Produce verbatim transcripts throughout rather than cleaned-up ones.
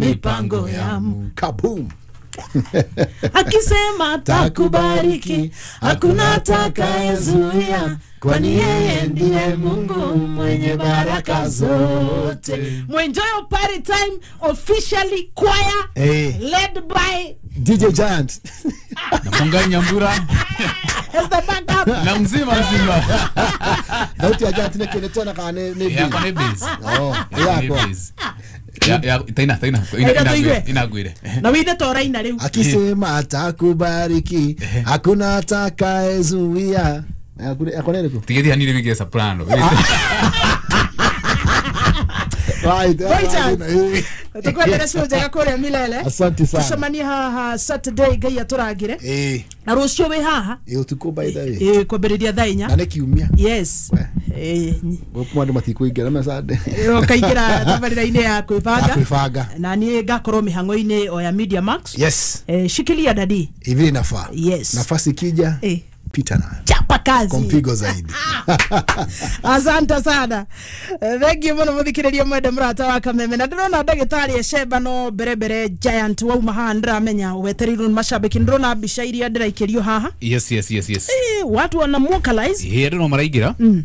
Mipango ya Mungu. Kaboom. Akisema takubariki, hakuna atakayezuia, kwani yeye ndiye Mungu mwenye baraka zote. Mwenjoy party time officially choir hey. Led by D J Giant na Mungai Nyambura as the backup na mzima mzima. Sauti ya Giant ne kinetona kana ne ne ya kwa ne bass. Oh, ya kwa ya ya taina taina ina inagwire na withe toraina riu. Akisema atakubariki, hakuna atakayezuia. Akone ko tigethi hanire wige soprano. Right. Tukwendera cio njega kuria Milele. Asante sana. Tucemanie haha Saturday Ngai aturangire. Eh. Na rucio wi haha. Eh utuko by the way. Eh kwambiriria thaa inya. Na nĩ kiumia. Yes. Eh gũkũ andũ matikũingĩra na Sunday. Ũkaingĩra tabarĩra-inĩ ya kwĩbanga. Kwĩbanga. Na niĩ ngakorwo mĩhang'o-inĩ o ya Media Max. Yes. Eh shikilia dadi. Hivi inafaa. Yes. Nafasi ikija. Eh. Pita nayo. Chapa kazi. Kwa mpigo zaidi. Asante sana. Thank you muno muthikiriria mwende murata wa Kameme. Na ndirona ndagitari Esheba no mbere mbere Giant wauma haha ndiramenya wetereirwo ni mashabiki. Ndirona mbica iria ndiraikirio haha. Yes yes yes yes. Eh watu wana vocalize. Eh andu no maraingira. Mm.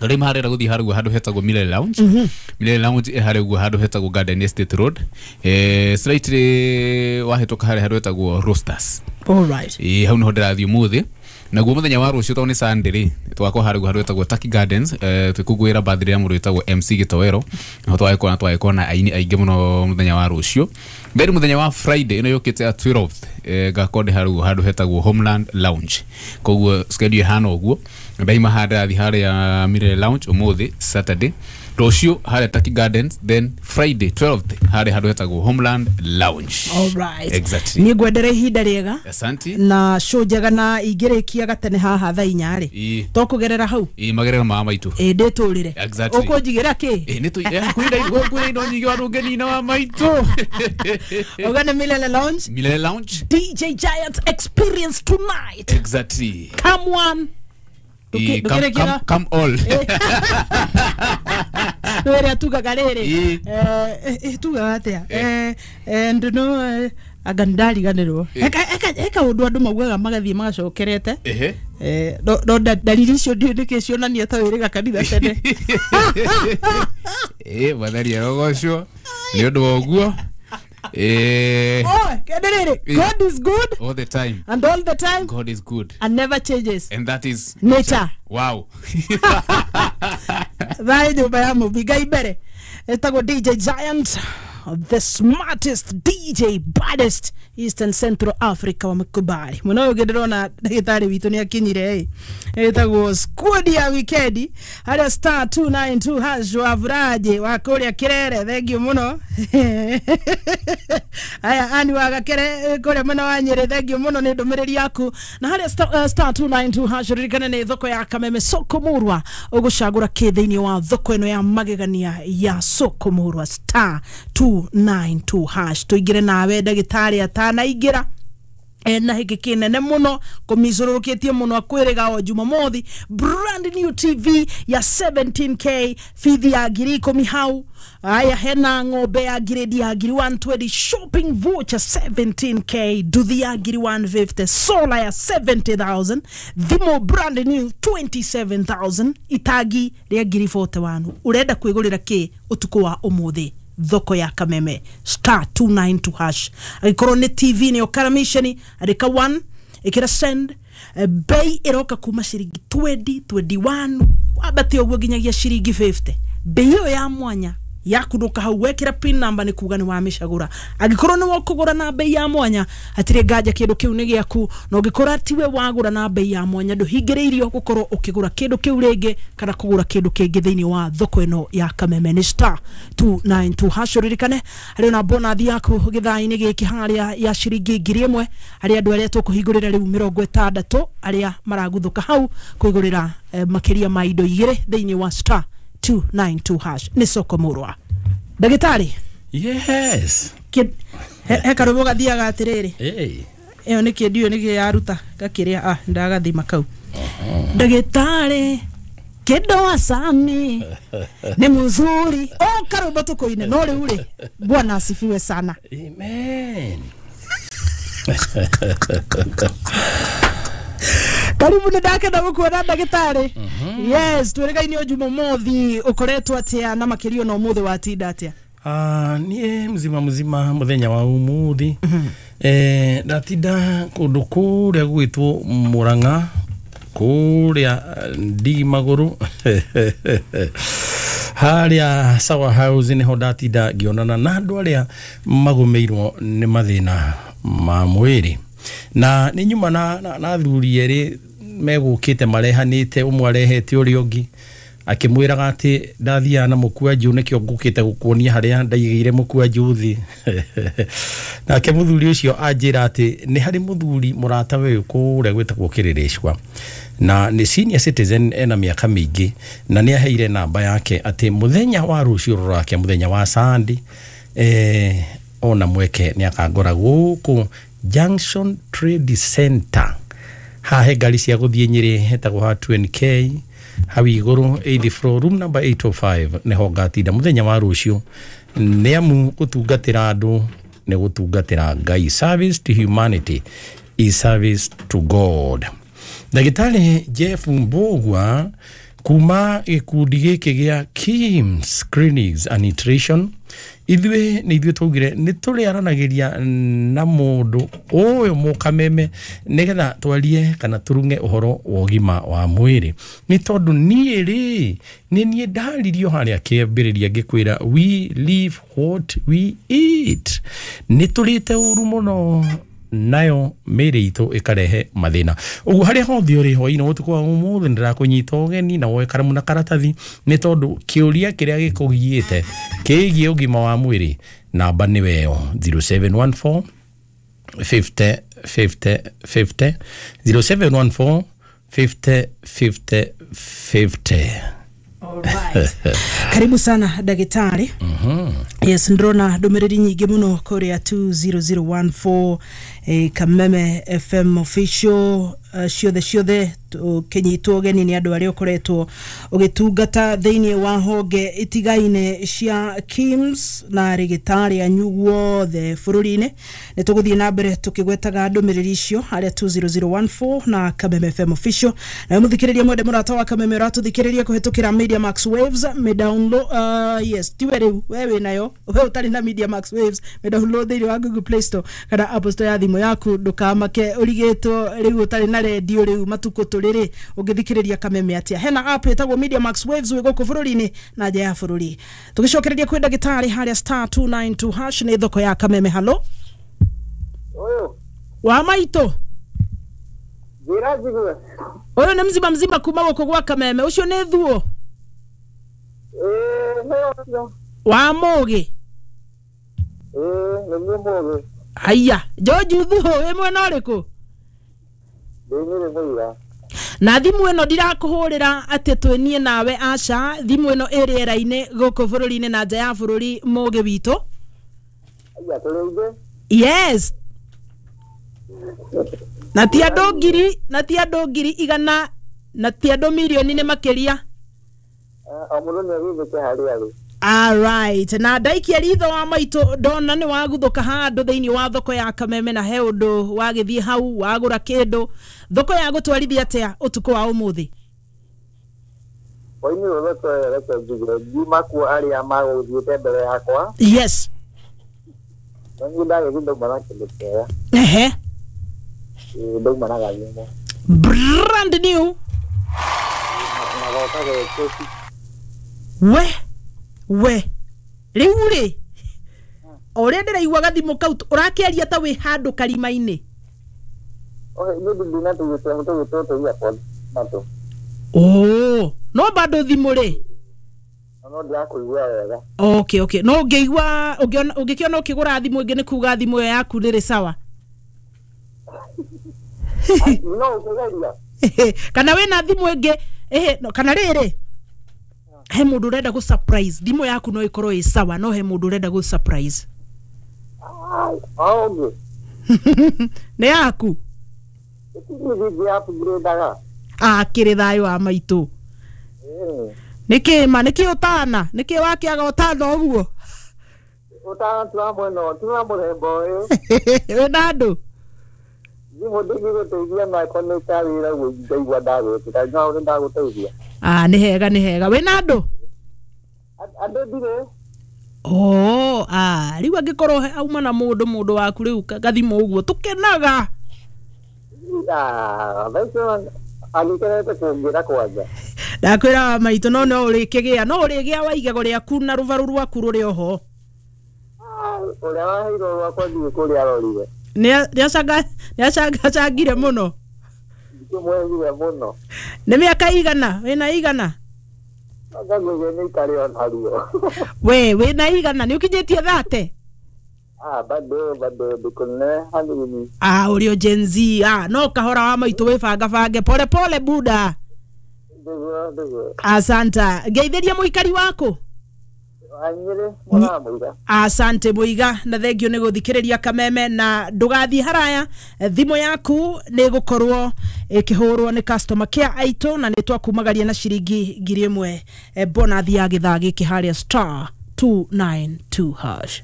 Rĩu maharera gũthiĩ harĩa handũ hetagwo Milele Lounge. Mm -hmm. Milele Lounge ĩ harĩa ũguo handũ hetagwo Garden Estate Road. Eh slightly wahĩtũka harĩa handũ hetagwo Roasters. All right. Eh hau niho ndĩrathiĩ ũmũthĩ. Naguo muthenya wa rucio tondũ nĩ Sunday rĩ twakorwo harĩa ũguo handũ hetagwo Turkey Gardens eh twĩkũngũĩra birthday ya mũndũ wĩtagwo M C Gĩtoero. Naho twagĩkorwo na twagĩkorwo na aini aingĩ mũno mũthenya wa rucio. Then mũthenya wa Friday ĩno yũkĩte ya twelfth eh ngakorwo ndĩ harĩa ũguo handũ hetagwo Homeland Lounge. Koguo schedule ĩhana ũguo. Ndaima haha ndĩrathiĩ harĩa Milele Lounge ũmũthĩ Saturday, rũciũ harĩa Turkey Gardens, then Friday twelfth harĩa handũ hetagwo Homeland Lounge. All right. Exactly. Niĩ ngwendere ihinda rĩega. Asante. Na show njega na ingĩrĩkia gatene haha thaa inya rĩ. To kũgerera hau. Ĩ magerera ma maitũ. Ĩ ndĩtũrĩre. Exactly. Ũkũnjigĩra kĩ? Ĩ nĩ tũ kwĩna indo nyingĩ wa ndũngĩnina wa maitũ. Ũgane Milele Lounge. Milele Lounge. D J Giant experience tonight. Exactly. Come one. E, come, come, come all. Were tugaga rĩrĩ. Eh tugaga atia? Eh and no anga ndariganĩrwo. Eka eka eka ũndũ andũ maugaga magathiĩ magacokerete. Ehe. Eh no no ndariri icio ndiũ nĩkĩ cionania ta wĩrĩga kanitha tene. Eh wathari arogocwo nĩ ũndũ wa ũguo. Eh. Oh, kenderere. God is good all the time. And all the time God is good. And never changes. And that is nature. Wow. Thaĩ nyũmba ya mũmbi Ngai mbere. Etagwo D J Giant, the smartest D J, baddest Eastern Central Africa wa mkubali. Muno ũyũ ndĩrona ndagĩtarĩ witũ nĩ akinyire ĩ. Etagwo squad ya weekend harĩa star two nine two hash wa Vuraje wa kũrĩa Kirere. Thank you muno. Aya ani wa Gakere kũrĩa mwena wa Nyĩrĩ, thank you muno nĩ ndũmĩrĩri yaku. Na harĩa star, uh, star two nine two hash ririkane nĩ thoko ya Kameme soko murwa ũgũcagũra kĩ thĩinĩ wa thoko ĩno ya magegania ya soko murwa star two nine two hash. Tuingire nawe ndagĩtarĩ atanaingĩra ena hiki kinene muno kumicũrũrũkĩtie muno akwĩrĩga o Jumamothi brand new T V ya seventeen K bithi ya ngiri ikũmi hau. Aya hena ng'ombe ya grade ya ngiri one twenty, shopping voucher seventeen K, nduthi ya ngiri one fifty, solar ya seventy thousand, thimũ brand new twenty-seven thousand, itangi rĩa ngiri forty-one. Ũrenda kwĩgũrĩra kĩ ũtukũ wa ũmũthĩ thoko ya Kameme star two nine two hash. Angĩkorwo nĩ T V nĩyo karamisheni, andĩka one ĩkĩra send. Bei ĩroka kuma ciringi twenty, twenty-one wambate ũguo nginyagia ciringi fifty. Bei ĩyo ya mwanya yakunduka hau wekĩra pin number nĩ kuga nĩ wamĩcagũra. Angĩkorwo nĩ wokũgũra na bei ya mwanya hatirĩ nganja kĩndũ kĩu nĩ gĩaku, na ũngĩkorwo tiwe wagũra na bei ya mwanya ndũhingĩrĩirio gũkorwo ũkĩgũra kĩndũ kĩu rĩngĩ kana kũgũra kĩndũ kĩngĩ thĩinĩ wa thoko ĩno ya Kameme. Nĩ star two nine two hash. Ririkane harĩ na bonathi yaku gĩthaa-inĩ gĩkĩ harĩa ya ciringi ngiri ĩmwe harĩ andũ arĩa tũkũhingũrĩra rĩu mĩrongo ĩtandatũ arĩa maraguthũka hau kwĩgũrĩra eh, makĩria ma indo igĩrĩ thĩinĩ wa star two nine two hash. Nĩ soko murwa. Ndagĩtarĩ. Yes. He karũmũ gathiaga atĩrĩrĩ. Hey. Ĩyo nĩ kĩndio nĩ yaruta gakĩrĩa ah ndagathima kau. Ndagĩtarĩ Kido Sami ni mzuri o karwimbo tukuine no riu ri Bwana asifiwe sana. Amen. Karibu nä ndakenda gå kuona ndagätarä. Yes, twä o Jumamothi å koretwo atä na makä na å må thä watinda atä? Ah, niä mzima mzima muthenya wa umuthi eh ndatinda kundu kuria gwitwo Murang'a kuria ndigi maguru haria Sawa House niho ndatinda ngionana na andu aria magumiirwo ni mathina ma mwiri na ni nyuma na na athuri eri megukite marehanite umwe arehete uria ungi akimwiraga ati ndathiaga na mũkwanjũ nĩkĩo ngũkĩte gũkuonia harĩa ndaigĩire mũkwanjũ thĩ. Nake mũthuri ũcio anjĩra atĩ nĩ harĩ mũthuri mũrata we kũrĩa gwĩtagwo Kĩrĩrĩcwa na nĩ senior citizen ena mĩaka mĩingĩ na nĩ aheire namba yake atĩ mũthenya wa rũciũ rũrake mũthenya wa Sunday eh, ona mweke nĩ akangora gũkũ Junction Trade Center hahe ngari cia gũthiĩ Nyĩrĩ hetagwo ha two N K hau igũrũ eighth floor room number eight oh five nĩho ngatinda mũthenya wa rũciũ nĩ amu gũtungatĩra andũ nĩ gũtungatĩra Ngai. Service to humanity is service to God. Ndagĩtarĩ Jeff Mbugua kuma gĩkundi gĩkĩ gĩa Kims Clinics and Nutrition ithuĩ nĩ ithuĩ twaugire nĩ tũrĩaranagĩria na mũndũ ũyũ mũkameme nĩgetha twarie kana tũrung'e ũhoro wa ũgima wa mwĩrĩ nĩ tondũ niĩ rĩ nĩ niĩ ndaririo harĩa kĩambĩrĩria ngĩkwĩra we live what we eat. Nĩ tũrĩte ũru mũno nayo mĩĩrĩ itũ ĩkarehe mathĩna. Ũguo harĩa hothe ũrĩ hwaĩ-inĩ ũtukũ wa ũmũthĩ nĩndĩrakũnyita ũgeni na woe karamu na karatathi nĩ tondũ kĩũria kĩrĩa gĩkũgiĩte kĩgiĩ ũgima wa mwĩrĩ namba nĩwe ĩyo zero seven one four fifty fifty fifty zero seven one four fifty fifty fifty. Alright. Karibu sana ndagĩtarĩ. Mm-hmm. Yes, ndĩrona ndũmĩrĩri nyingĩ mũno kũrĩa two zero zero one four eh, Kameme F M official uh, ciothe ciothe ũkĩnyitwo ũgeni nĩ andũ arĩa ũkoretwo ũgĩtungata thĩinĩ wa honge itigaine cia Kims na rĩgĩtarĩ anyu guothe bũrũri-inĩ. Nĩ tũgũthiĩ na mbere tũkĩgwetaga ndũmĩrĩri icio harĩa two zero zero one four na Kameme F M official. Nawe mũthikĩrĩria mwende mũrata wa Kameme ũratũthikĩrĩria kũhĩtũkĩra Media Max Waves me download uh, yes tiwe rĩu we wĩ nayo we ũtarĩ na Media Max Waves me download thĩinĩ wa Google Play Store kana Apple Store ya thimũ yaku ndũkamake ũrigĩtwo rĩu ũtarĩ na redio rĩu matukũ tũrĩrĩ ũngĩthikĩrĩria Kameme atĩa. Hena app ĩtagwo Media Max Waves wĩ gũkũ bũrũri-inĩ na nja ya bũrũri. Tũgĩcokereria kwĩ ndagĩtarĩ harĩa star two nine two hash nĩ thoko ya Kameme. Halo ũyũ wa maitũ njĩra njigue ũyũ nĩ mzima mzima kuma gũkũ gwa Kameme ũcio nĩ thuo ĩĩ nĩ ũcio wa mũgĩ ĩĩ nĩguo mũgĩ. Haiya George thuo wĩ mwena ũrĩkũ? Ndĩ Nyĩrĩ mũira. Na thimũ ĩno ndirakũhũrĩra atĩ twĩnie nawe aca thimũ ĩno ĩ rĩera-inĩ gũkũ bũrũri-inĩ na nja ya bũrũri mũgĩ witũ. Haiya tũrĩ aingĩ. Yes. Na ti andũ ngiri na ti andũ ngiri igana na ti andũ mirioni nĩ makĩria. O mũndũ nĩ agĩthĩke harĩa arĩ. Alright, na ndaikia ritho wa maitũ ndona nĩ waguthuka handũ thĩinĩ wa thoko ya Kameme na he ũndũ wagĩthiĩ hau wagũra kĩndũ. Thoko ya gũtwarithia atĩa ũtukũ wa ũmũthĩ? Hwaĩ-inĩ ũyũ thoko ĩyo reke njuge ngiuma kuo arĩa magũthiĩte mbere yakwa. Yes. Na niĩ ndagĩthiĩ ndauma na kĩndũ kĩega. Ehe. Ĩĩ ndauma na gathimũ. Brand new. Na goka gĩkĩti. We we rĩu rĩ o ũrĩa ndĩraigua gathimũ kau ũrakĩaria ta wĩ handũ karima-inĩ. Ohe niĩ ndĩ na tũgĩtũ tũgĩtũ tũ earpods matũ. Oh, no bado thimũ rĩ no ndĩrakũigua wega. Okay, okay. No ũngĩigua ũngĩkĩona ũkĩgũra thimũ ĩngĩ nĩ kuga thimũ ĩyo yaku ndĩrĩ sawa. No ũkĩgeria. Kana wĩna thimũ ĩngĩ ehe kana rĩrĩ he mũndũ ũrenda gũ surprise thimũ yaku no ĩkorwo ĩ sawa no he mũndũ ũrenda gũ surprise. Ah, ũngĩ. Nĩ yaku. Ĩtigithia upgrade-aga. Ah, kĩrĩ thayũ wa maitũ. Nĩkĩ ma nĩkĩ ũtana nĩkĩ wakĩaga ũtana ũguo? Ũtana ti wa mwena ti wa mũthemba ũyũ. Wĩna andũ? Thimũ ndĩngĩgũteithia nako nĩ ta wĩra ũguo ngaigua ndagwĩtĩka no nĩ ndagũteithia. Ah, nĩ hega nĩ hega. Wĩna andũ? Andũ ndirĩ. Oh, ah, rĩu angĩkorwo auma na mũndũ mũndũ waku rĩu gathimũ ũguo tũkenaga. Ah, thaa icio agĩkenete kũngĩra kwanja. Ndakwĩra wa maitũ no no ũrĩkĩgĩa no ũrĩgĩa wa igego rĩaku na rũbaru rwaku rũrĩ oho. Ũrĩa waheirwo rwakwa ndiũĩ kũrĩa arorire. Nĩacangire mũno. Ndikĩmwethire mũno. Nĩ mĩaka igana wĩna igana? Anga ngwĩciria nĩ itarĩ onaruo. We wĩna igana nĩ ũkinyĩtie thate? Ah, bado bado ndikũnene hanini. Ah, ũrĩ o Gen Z. Ah, no kahora wa maitũ wĩbangabange pole pole buda. Ndiguo ndiguo. Asanta. Ngeithĩria mũikari waku. Anyĩrĩ mwana mũiga. Asante Muiga na thengio nĩ gũthikĩrĩria Kameme na ndũgathiĩ haraya thimũ yaku nĩ gũkorwo ĩkĩhũrwo nĩ customer care aitũ na nĩ twakumagaria na ciringi ngiri ĩmwe bonathi ya gĩthaa gĩkĩ harĩa star two nine two hash.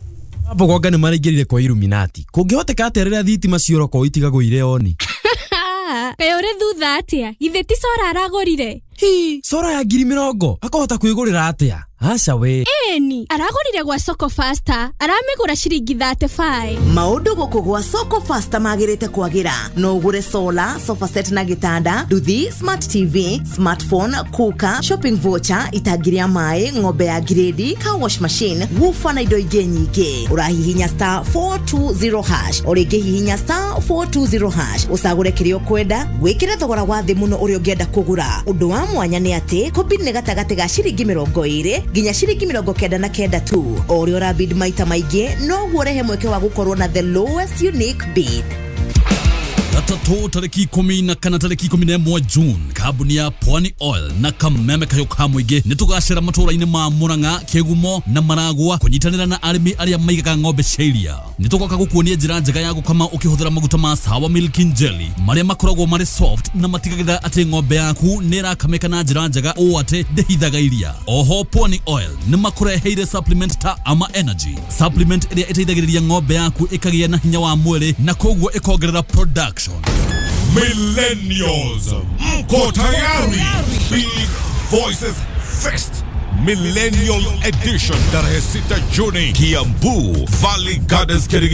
Mbogonga nĩ maraingĩrire kwa Illuminati kũngĩhoteka atĩa rĩrĩa thitima cioroko itigagwo irĩ oni? Kaĩ ũrĩ thutha atĩa? Githĩ ti cora aragũrire? Hi, cora ya ngiri mĩrongo akahota kwĩgũrĩra atĩa? Aca we. Ĩni, aragũrire gwa Soko Faster, aramĩgũra ciringi thirty five. Maũndũ gũkũ gwa Soko Faster magĩrĩte kwagĩra. No ũgũre solar, sofa set na gĩtanda, nduthi, smart T V, smartphone, cooker, shopping voucher, itangi rĩa maĩ, ng'ombe ya grade, car wash machine, woofer na indo ingĩ nyingĩ. Ũrahihinya star four two zero hash, o rĩngĩ hihinya star four two zero hash, ũcagũre kĩrĩa ũkwenda, wĩkĩre thogora wa thĩ mũno ũrĩa ũngĩenda kũgũra. Ũndũ wa mwanya nĩ atĩ kũbid nĩ gatagatĩ ga ciringi mĩrongo ĩrĩ nginya ciringi mĩrongo kenda na kenda tu. O ũrĩa ũrabid maita maingĩ noguo ũrehe mweke wa gũkorwo na the lowest unique bid. Gatatũ tarĩki ikũmi na kana tarĩki ikũmi na ĩmwe June, kambuni ya Pwani Oil na Kameme Kahiũ ka Mũingĩ nĩ tũgacera matũũra-inĩ ma Murang'a, Kĩgumo na Maragwa kũnyitanĩra na arĩmi arĩa maigaga ng'ombe cia iria. Nĩ tũgoka gũkuonia njĩra njega ya gũkama ũkĩhũthĩra maguta ma Sawa Milk and Jelly marĩa makoragwo marĩ soft na matigagĩrĩra atĩ ng'ombe yaku nĩ ĩrakamĩka na njĩra njega ũũ atĩ ndĩhithaga iria. Oho Pwani Oil nĩ makũreheire supplement ta Ama Energy, supplement ĩrĩa ĩteithagĩrĩria ng'ombe yaku ĩkagĩa na hinya wa mwĩrĩ na koguo ĩkongerera production. Millennials, mko tayari? Big Voices Fest Millennial Edition tarehe sita Juni, Kiambu Valley Gardens, Kirigiti.